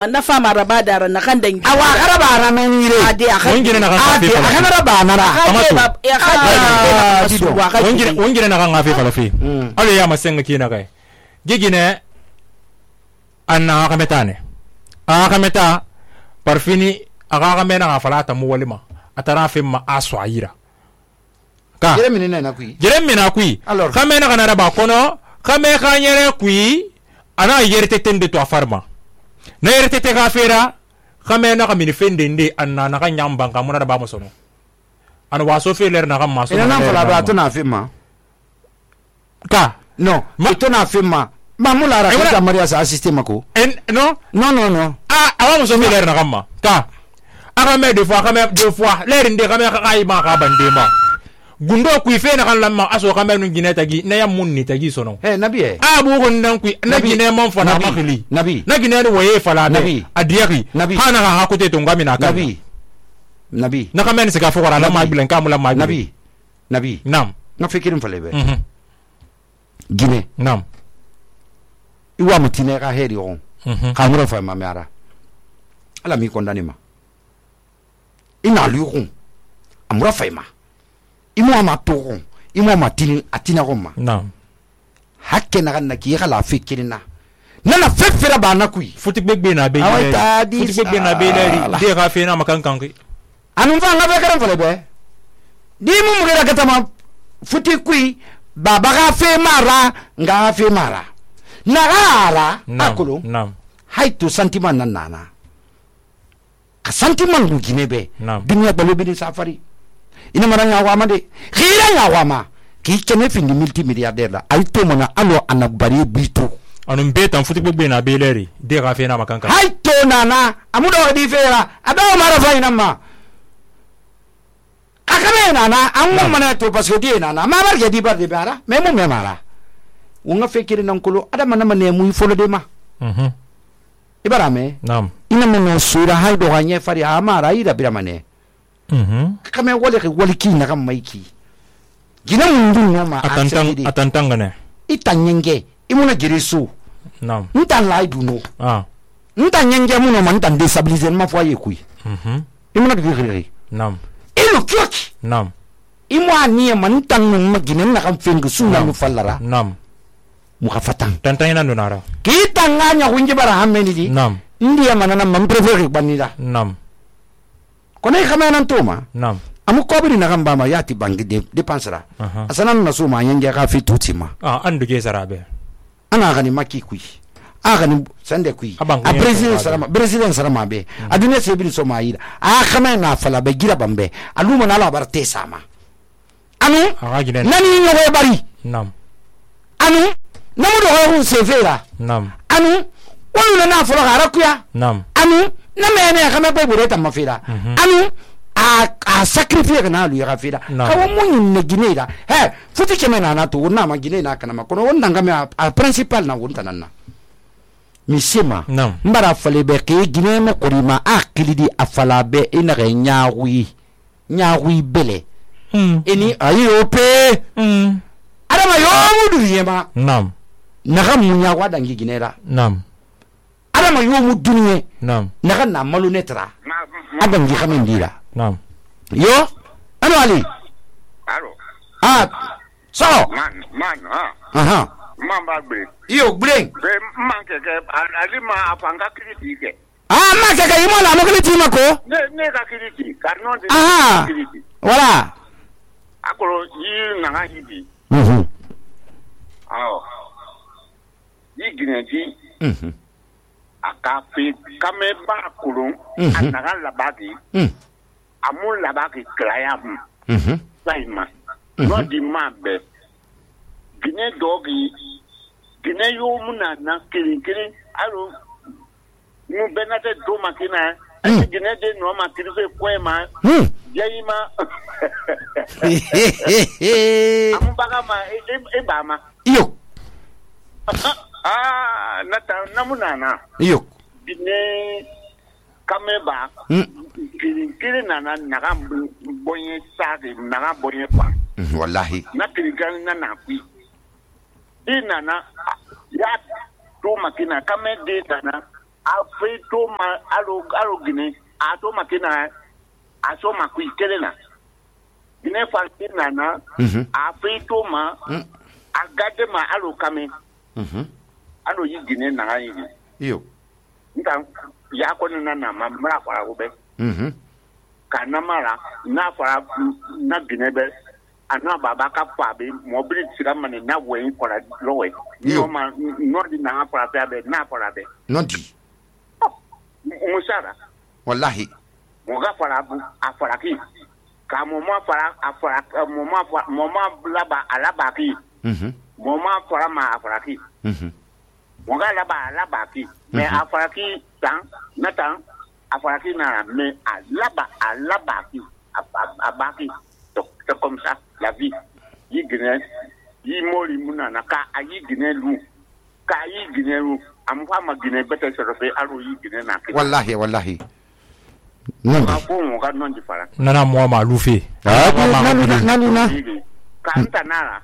na fama raba da na kan dangi awa garaba na men yire ade wongire na kan ade agara ba na ra wongire na kan afi falafi alo ya masenga kina kai gigine anna kametane akameta parfini aga kamena ga falata mu walima atara fi ma aswaira ka jeremi na kui kamena kana raba kono kame kanyere kui ana yerte tende to afarma na yerte te gafera kame na kamini fendende anna na kanyamba ngamuna ba mosono ana waso feler na kam maso ina fala ba to na fima ka no to na fima mamula ra ka maria sa system ko no awa moso feler na kam ka aga me deux fois ler inde kame ka kai ma ka bande ma gundo ku ife na kan lamma aso kame nu gine tagi na yam munni tagi sono nabi abu gon nan ku na gine mon fana makili nabi na gine ni waye fala nabi adiaki hana ha hakute to ngami na kan nabi na kame ni sika fokora na ma bilen kamula ma nabi nam na fikirin falebe gine nam iwa mutine ka heri on ka mura fa ma mara ala mi kondani ma ina lukun amura fa ma imo ma togon imo ma tin atina gomma nam hakke na ganna ki kala fikirina nana fefera ba na kui futi begbe na be futi begbe na be leri de ka fe na makan kanki anu fa ngabe karam fale be di mu mu gara katama futi kui baba ga fe mara nga fe mara na gara akulu nam haitu sentiment nan nana ka sentiment ngu ginebe dunya balo bi safari ina maranya wa made khira ya wa ma ki kene findi multimilliardaire la ay to mona alo anabari bito anum betan futi begbe na be leri de ka fe na makan kanki hay to nana amudo di fera adaw mara fayna ma akame nana ammo mana to parce que di nana ma barge di barde bara me mo me mara wonga fekiri nan kulo adama na mane mu folo de ma ibarame nam ina mo sura hay do ganye fari amara ida biramane kame wale ke wali ki na kam maiki gina mundu no ma atantanga ne itanyenge imuna girisu nam ntan lai duno ntanyenge muno man ntan destabiliser ma foye kui imuna giri nam ilu kyoki nam imu ani man tan ma gina na kam fengu suna mu fallara nam mu kafatan tantanya na nara kita nganya kunje bara hameni di nam ndiya manana mam prefere banida nam kone khamena ntoma nam amu kobiri na kamba ma yati bangi depensera asanan na suma yenge ka fi tutima andu ge sarabe ana gani maki kui agani sande kui a president sarama be adune sebili so maida a khamena fala be gira bambe aluma na la barte sama anu nani nyowe bari nam anu namu do ho sefera nam anu wala na fala harakuya nam anu na mene kama pe bureta mafira anu a sacrifice kana lu ya fira kawo mun ne ginera he futi kemena na to na ma ginena kana ma kono wonda ngame a principal na wonta nanna misima mbara fale be ke gine mo korima a kilidi afala be ina ga nyawi bele eni ayo pe adama yo mudu yema nam naga munya wada ngi ginera nam adama yo mu dunye nam naga na malu netra adam gi khamin dira nam yo anu ali alo so man mamba bre yo breng be manke ke ali ma afanga kriti ke ma ke imo la mo kriti mako ne ka kriti karno de kriti wala akolo yi na ha hibi yi gineti akafe kame ba kulun anaga labaki amu labaki klayam saima no di mabe gine dogi gine yo muna na kiri alo mu benate do makina gine de no makiri fe kwema yima amu baga ma e ba ma iyo nata namunana iyo bine kameba kiri nana naga bonye sage naga bonye pa wallahi na kiri kan na kwi di nana ya to makina kame de nana afeito ma alo Guinée ato makina aso makui kelena Guinée Falkina na afeito ma agade ma alo kame alo yi Guinée na yi yo nta ya ko na ma mra fara go be kana mara na fara na Guinée be ana baba ka fa be mobili sira mane na wen ko la lowe no ma no di na fara be na fara be no di musara wallahi mo ga fara bu afara ki ka mo ma fara afara mo ma laba alaba ki mo ma fara ma afara ki mo ga laba ki me afara ki tan na tan afara ki na me alaba ki abaki c'est comme ça la vie yi Guinée yi mori muna na ka ayi Guinée lu ka yi Guinée lu am fa ma Guinée bete se refe alo yi Guinée na ke wallahi non ka ko mo ga non di fara nana mo ma lufi naluna ka nta nala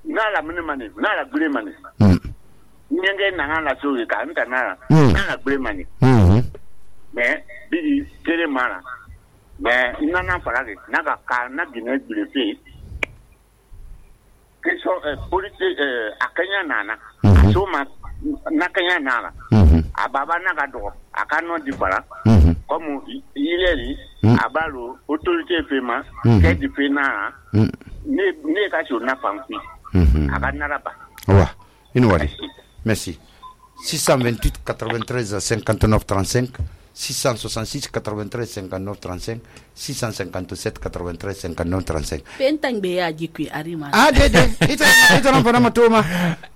nala mini mani nala gure mani nyenge na la so ka nta nala gure mani mais bi tere mala mais nana fara ke naga ka na Guinée gure fe que so politique akanya nana so ma nakanya nana ababa naga do akano di fara comme ileri abalo autorité fema ke di fena ne ka so na fanfi akana ba wa inwali merci 628 93 59 35 666 93 59 35 657 93 59 35 Pentang be ya jikwi arima. Dede ita nampa matuma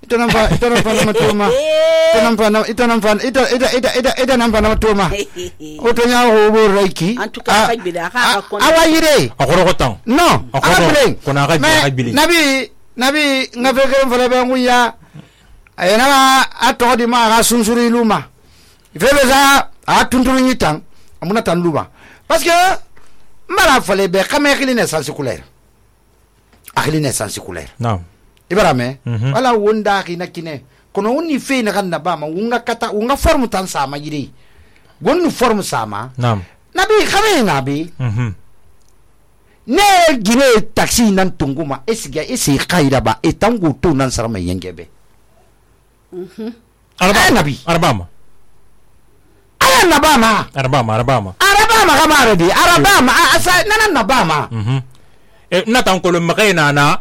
ita nampa matuma otonya hobo reiki Antuka kagbida ka kon. awayire akoro kotang no ableng kona kagbili nabi ngafeke mfala banguya ayana atodi ma ga sunsuri luma ifebeza atunturu nyitang amuna tan luba parce que mala fale be kame khili naissance scolaire akhili naissance scolaire naam ibarame wala wonda khina kine kono woni fe na ganna ba ma wunga kata wunga forme tan sama yiri wonu forme sama naam nabi khame nabi ne gine taxi nan tunguma esiga esi khaira ba etangu to nan sarama yengebe arbama Arabama kamara di Arabama asa nana nabama na tan ko makena na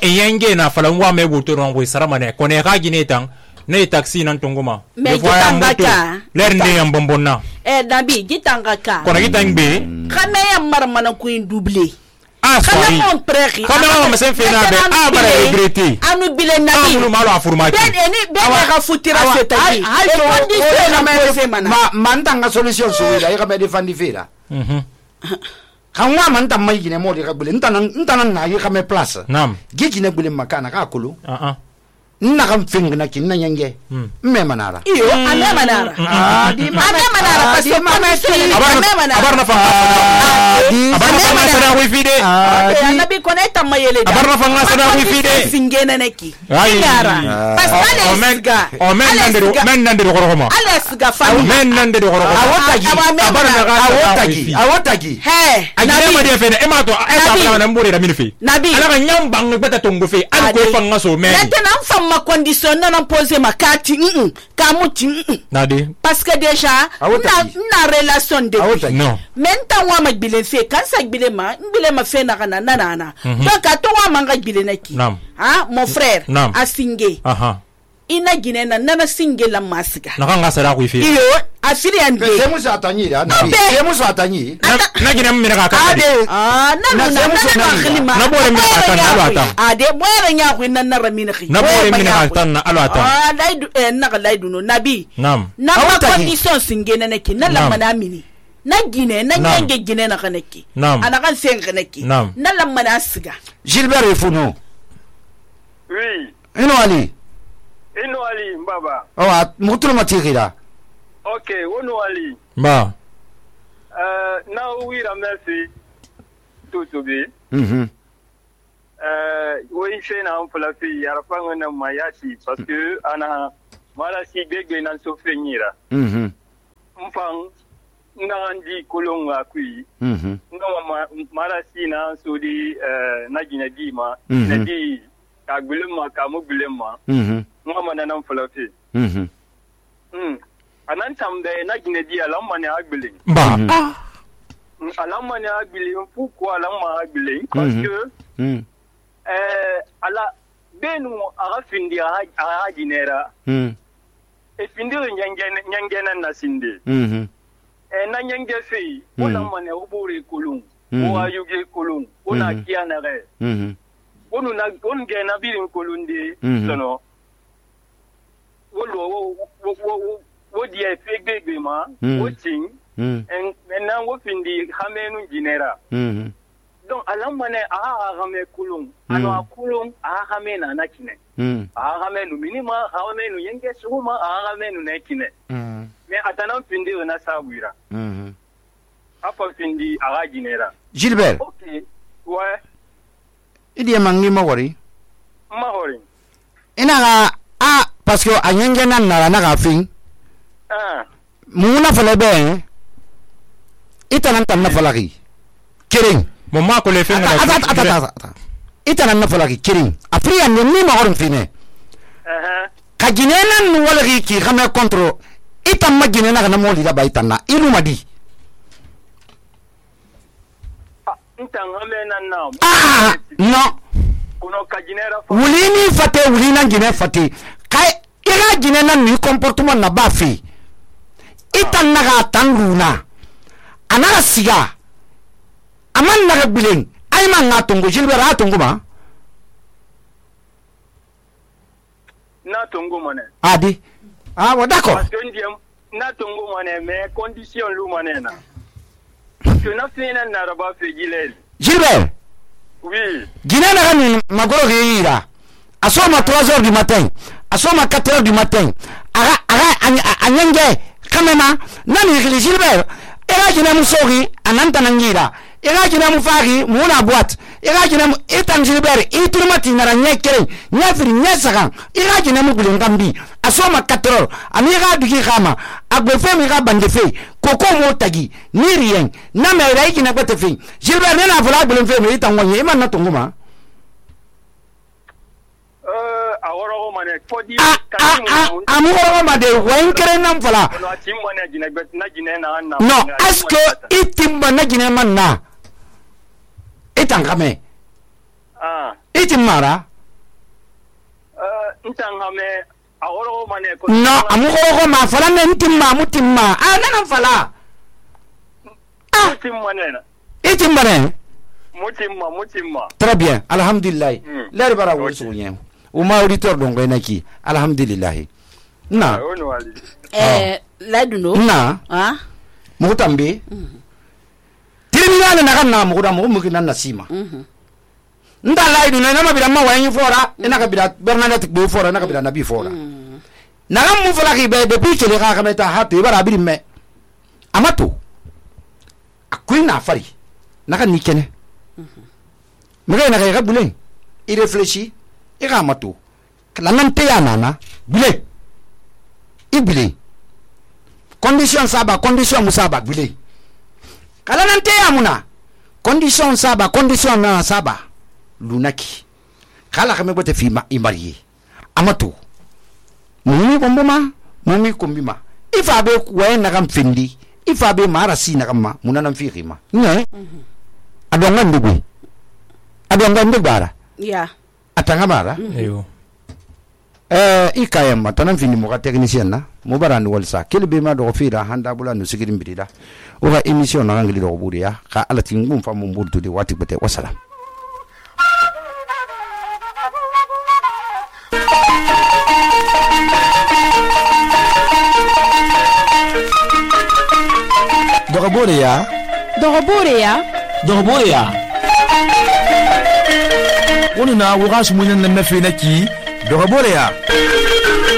yenge na falan wa me buto ron ko saramane ko ne ka gine tan ne taxi nan tunguma Me gitanga ler ne yam bombonna Dabi gitanga ka. ko na gitangbe Kame ya marmana ku doublé. Sorry. Comment on s'est fait nabe bara regretter. Anu bile nabi. Anu malo afurmaki. Ben ka futira seta yi. Mantanga solution suila ira be defandi fera. Kanwa manta mai gine modi ka bule ntana na yi kame place. Nam. Gigi ne bule makana ka kulu. Na kam fing na kin na nyenge. Me manara. Iyo ame manara. Di ame manara parce que abar na fa. Abar na fa sana wifi de. Nabi koneta mayele. Abar na fa sana wifi de. Singena neki. Yara. Parce que men nande goroma. Alesga fami. Men nande goroma. Awotagi. He. Nabi ma de fe e ma to e ta na mbore da minfi. Nabi. Ala ka nyam bang beta tongo fe. Al ko fa ngaso men. Ma condition non poser ma carte kamuti nadi parce que déjà na relation de non maintenant wa ma bile fe kan sa bile ma fe na kana nana donc ato wa manga bile na ki mon frère a singé ina gine na nana singe la masika na kanga sara ku fi iyo afili ande semu sa tanyi da semu sa tanyi na gine mmira ka ka na khilima na bore mi ka tan na ata ade bore nya ku na ramina khi na bore mi ka tan na ata laidu na laidu no nabi nam na ma condition singe na neki na la mana mini na gine na nyenge gine na kaneki ana kan sen kaneki na la mana siga Gilbert Efuno oui ino ali mbaba mutulo matikira okay wono ali ba na wira merci tout bi wo ife na on flafi yarfa ngana mayati parce que ana marasi gbegbe nan so fenyira mfan ngandi kolonga kui ngama marasi na so di na gina di ma na di ka gulema ka mu gulema ngama nan falafi anan tambe na gina di alamma ne agbele ba alamma ne agbele fuko alamma agbele parce que ala benu aga findi aga ginera e findi nyangena na sinde na nyange fei ona mane obore kolon o ayuge kolon ona kiana re onu na onge na birin kolon de sono wo dia fegbe ma wo tin en na wo findi hamenu ginera donc alamane agame kulung ano akulung agamena nakine agamenu minima agamenu yenge suma agamenu nakine mais atana findi na sabira apa findi agajinera Gilbert OK ouais idi mangi mawari ina ga parce que anyenge nan na ga fin muna fala be itanan tan na falaki kiring mama ko le fe ata itanan na falaki kiring afriya ni ma horon fine ka ginenan nu wala ki xame control itam ma ginena na moli da baytanna ilu madi no kuno ka ginera wulini fate wulina gine fate kai ira ginena ni comportement na bafi itan naga tanguna anaga siga aman naga bilen ay man ngatungo Gilbert atungo ma na tungo mane adi bon d'accord parce que ndiem na tungo mane mais condition lu mane na parce que na fina na raba fe Gilbert oui Guinée naga ni magoro gira asoma 3h du matin asoma 4h du matin anyenge kamema nani Gilbert era jina musogi ananta nangira era jina mufari muna boîte era jina etan Gilbert iturmati naranye kere nyafiri nyasaka era jina mugule ngambi asoma 4h amiga dugi khama agbefe mi ga bandefe koko mo tagi ni rien na me rai jina gbetefe Gilbert nena fula gbelen fe mi tangonye iman na tunguma aworo mane fodi amuro made wankere nan fala no est-ce que itimba na gine manna itangame itimara ntangame aworo mane no amuro ma fala ne intimma mutimma nan fala mutimma très bien alhamdulillah lari bara wo soñe uma auditeur donc enaki alhamdulillah na laduno na mo tambe tribunal na kan na mo da mo mukinan nasima nda laidu na ma bida ma wayin fora ina ka bida Bernadette be fora na ka bida nabi fora na ram mo fala ki be depuis que le ka kameta hatu bara bidi me amato akuina fari na kan nikene mega na ka bulen il réfléchit il ramato la nante ya nana bulen ibile condition saba condition musaba bulen kala nante ya muna condition saba condition na saba lunaki kala kame bote fi ma imarié amato mumi bomboma mumi kombima ifa be kuwa na kam fendi ifa be marasi na kama munana fi rima ne adonga ndugu adonga ndubara ya atanga mara eyo ikayam tanan fini mo ka technicien na mo barani walsa kelbe ma do fira handa bula no sigirin bidida o ga emission na ngili do buriya ka alati ngum fa mo burdu de wati bete wassalam Dogoboreya wani na wuga su munin nan na fi naki Dogoboreya